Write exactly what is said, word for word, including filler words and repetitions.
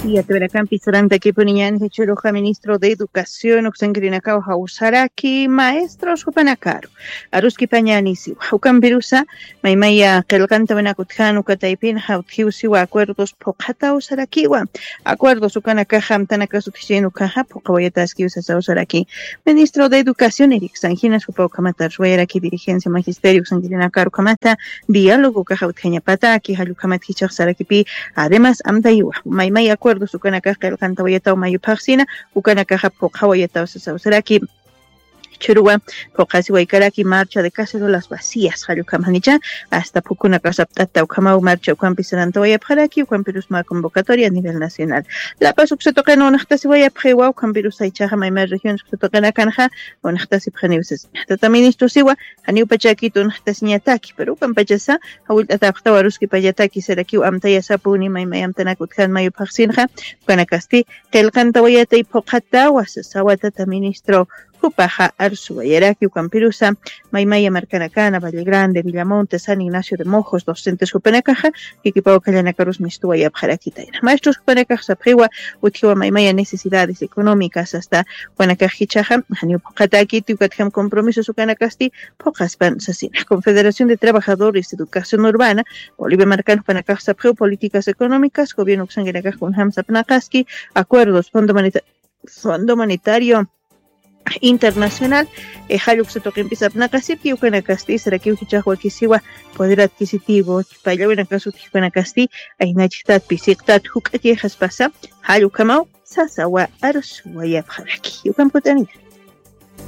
Yatawirakampi sarantakipuniñan jichhuruxa ministro de educación uksankirinakaw jawsaraki maestros jupanakaru aruskipañanisiwa. Ukampirusa maymaya qillqanta winakutjan ukataypinxa utjiwsiwa acuerdos phuqhataw sarakiwa. Acuerdos ukanakaxa amtanakasutjichin ukaxa phuqhawayataskiw sasaw saraki. Ministro de educación iriksanjinas jupa ukhamata arswayaraki dirigencia magisterio uksankirinakaru ukhamata diálogo ukaxa utjañapataki jallukhamat jichaxsarakipi. Además amtaywa maymay acuerdos ukanakax qillqantawayataw mayuphaxsina ukanakaxa phuqhawayataw sasawsaraki. Churuwa phuqhasiwaykaraki marcha de cacerolas vacías jallukhamanicha hasta phukunakasapt'ata ukhamaw marcha ukhampi sarantawayapxaraki ukhampirusma convocatoria a nivel nacional. Lapas uksatuqina unaxtasiwayapxiwa ukhampirusaychaxa maymay regiones uksatuqinakanxa unaxtasipxaniwsas. Tata ministrosiwa janiw pachakit unaxtasiñataki pero ukampachasa jawillt'atapxtawa aruskipallataki sarakiw amtayasapuni maymay amtanakutjan mayuphaxsinxa ukanakasti qillqantawayatay phuqhatawa sasawa tata ministro. Jupaxa arsuwayaraki ukampirusa maymaya markanakana valle grande villamonte san ignacio de mojos docentes jupanakaxa jikipaw kallanakarus mistuwayapxarakitayna maestros jupanakax sapxiwa utjiwa maymaya necesidades económicas hasta jupanakax jichaxa janiw phuqhatakiti ukatjam compromisos ukanakasti phuqhaspan sasina confederación de trabajadores de educación urbana bolivia markan jupanakax sapxiw políticas económicas gobierno uksankinakax kunjam sapnaqaski acuerdos fondo monetario internacional. Jalluksa tuqimpisapnaqasipki ukanakasti sarakiw jichaxwakisiwa poder adquisitivo pallawinakasutki ukanakasti aynachiktatpi siqtat juk'akixaspasa jallukhamaw sasawa arsuwayapxaraki ukamput'anira.